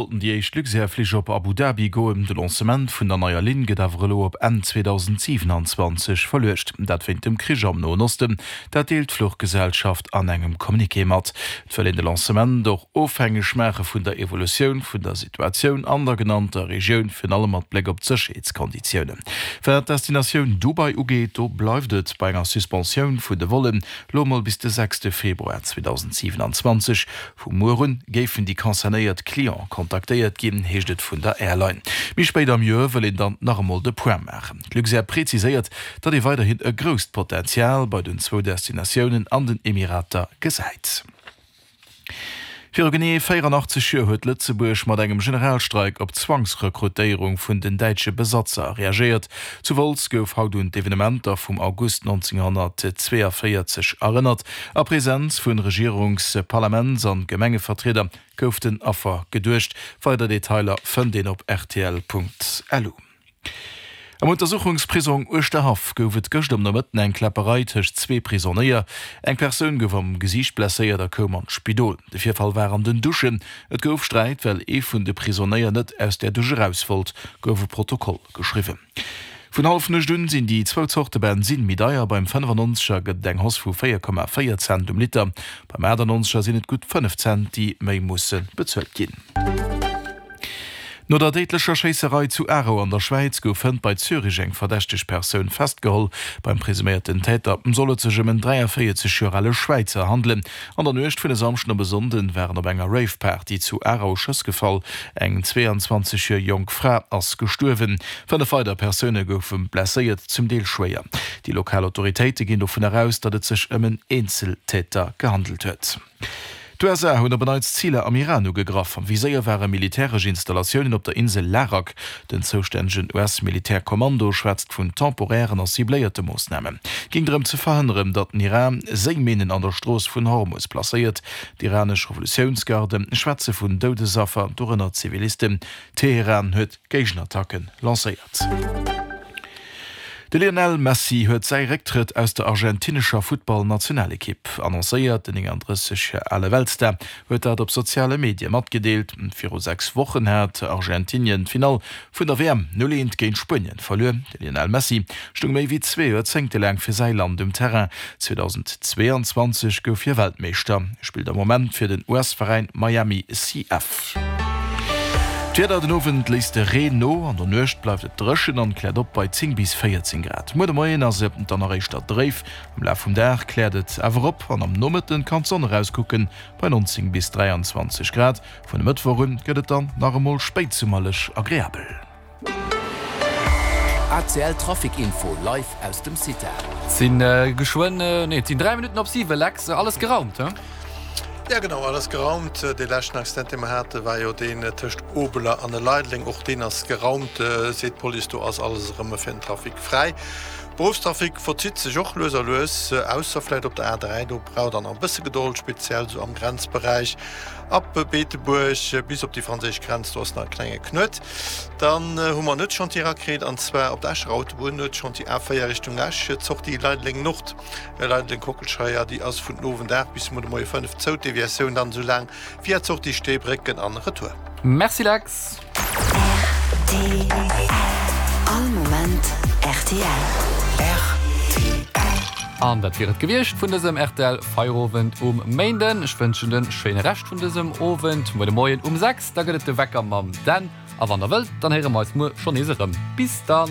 Sollten déi éischt Luxair-Flich op Abu Dhabi goen. De Lancement vun der neier Linn gëtt awer elo op Enn 2027 verluecht. Dat wéint dem Krich am Noen Osten. Dat deelt d'Fluchgesellschaft an engem Communiqué mat. Et wëll een de Lancement och ofhängeg maache vun der Evolutioun vun der Situatioun an der genannter Regioun, virun allem mat Bléck op d'Sécherheetskonditiounen. Wat d'Destinatioun Dubai ugeet, do bleift et bei enger Suspensioun vun de Vollen, lo emol bis de sechste Februar 2027. Vu muer un géifen déi concernéiert Cliente kontaktéiert ginn, heescht et vun der Airline. Méi spéit am Joer wëll een dann nach emol de Point maachen. D'Luxair preziséiert, datt ee weiderhin e grousst Potenzial bei den zwou Destinatiounen an den Emirater gesäit. Viru genee 84 Joer huet Lëtzebuerg mat engem Generalstreik op d'Zwangsrekrutéierung vun den däitsche Besatzer reagéiert. Zu Wolz gouf haut un d'Evenementer vum August 1942 erënnert. A Presenz vun Regierungs-, Parlaments an Gemengevertrieder gouf den Affer geduecht. Weider Detailer fënnt een op rtl.lu. Am Untersuchungsprisong Uerschterhaff gouf et gëscht am Nomëtten eng Kläpperei tëscht zwee Prisonéier. Eng Persoun gouf am Gesiicht blesséiert a koum an d'Spidol. De Virfall war an den Duschen. Et gouf Sträit, well ee vun de Prisonéier net aus där Dusch eraus wollt, gouf e Protokoll geschriwwen. Vun Hallefnuecht un sinn déi zwou Zorte Bensinn méi deier. Beim 95er gëtt et eng Hausse vu 4,4 Cent um Liter. Beim 98er sinn et gutt 5 Cent, déi méi musse bezuelt ginn. No der déidlecher Schéisserei zu Aarau an der Schwäiz gouf hënt bei Zürich eng verdächteg Persoun festgeholl. Beim presuméierten Täter soll et sech ëm en 43 Joer ale Schwäizer handelen. An der Nuecht vun e Samschden op e Sonnden waren op enger Rave-Party zu Aarau Schëss gefall. Eng 22 Joer jonk Fra ass gestuerwen. 5 weider Persoune goufe blesséiert, zum Deel schwéier. Déi lokal Autoritéite ginn dovun eraus, datt et sech ëm en Eenzeltäter gehandelt huet. D'USA hunn op en Neits Ziler am Iran ugegraff. Am Viséier ware militäresch Installatiounen op der Insel Larak. Den zoustännegen US-Militärkommando schwätzt vun temporären a cibléierte Moossnamen. Géing drëm ze verhënneren, datt den Iran Séiminnen an der Strooss vun Hormus placéiert. D'iranesch Revolutiounsgarde schwätze vun Doudesaffer, dorënner Zivilisten. Teheran huet Géigenattacke lancéiert. De Lionel Messi huet säi Récktrëtt aus der argentinescher Futtballnationalekipp annoncéiert. Den 39 Joer ale Weltstar huet dat op soziale Medie matgedeelt. Viru 6 Wochen hat Argentinien d'Finall vun der WM 0, 1 géint Spuenien verluer. De Lionel Messi stoung méi wéi zwee Joerzéngte laang fir säi Land um Terrain. 2022 gouf hie Weltmeeschter. Hie spillt am Moment fir den US-Veräin Miami CF. D'Wieder, Den Owend léisst de Reen no, an der Nuecht bleift et dréchen an kläert op bei 10 bis 14 Grad. Muer de Moien ass et dann nach éischter dréif, am Laf vum Dag kläert et awer op an am Nomëtten kann d'Sonn erauskucken bei 19 bis 23 Grad. Vun e Mëttwoch un gëtt et dann nach emol spéitsummerlech agreabel. ACL Trafic Info live aus dem CITA. Et sinn geschwënn, nee et sinn 3 Minutten op 7, Lex, alles geraumt, he? Ja genau, alles geraumt. Dee leschten Accident dee mer hate war jo deen tëscht Obeler an Leideleng. Och deen ass geraumt, seet d'Police. Do ass alles erëm fir den Trafic fräi. Beruffstrafic verzitt sech och lues a lues, ausser vläicht op der A3, do braucht der nach e bësse Gedold, speziell esou am Grenzberäich ab Beetebuerg bis op déi franséisch Grenz, do ass nach e klenge Knuet. Dann hu mer en Nuetschantier erakritt, an zwar op der Escher Autobunn, Nuetschantier A4 Richtung Esch, d'Sortie Leideleng Nord, Leideleng Kockelscheier, déi ass vun den Owend 8 bis muer de Moie 5 zou, d'Deviatioun dann esou laang via d'Sortie Steebrécken an Retour. Merci Lex. Rtl. All Moment rtl. Rtl. An dat wier et gewiescht vun dësem rtl Feierowend um Méinden. Ech wënschen en schéine Rescht vun dësem Owend. Muer de Moien um 6, da gëtt et de Wecker mam Dan. A wann der wëllt, dann héiere mer eis muer schonn nees erëm. Bis dann!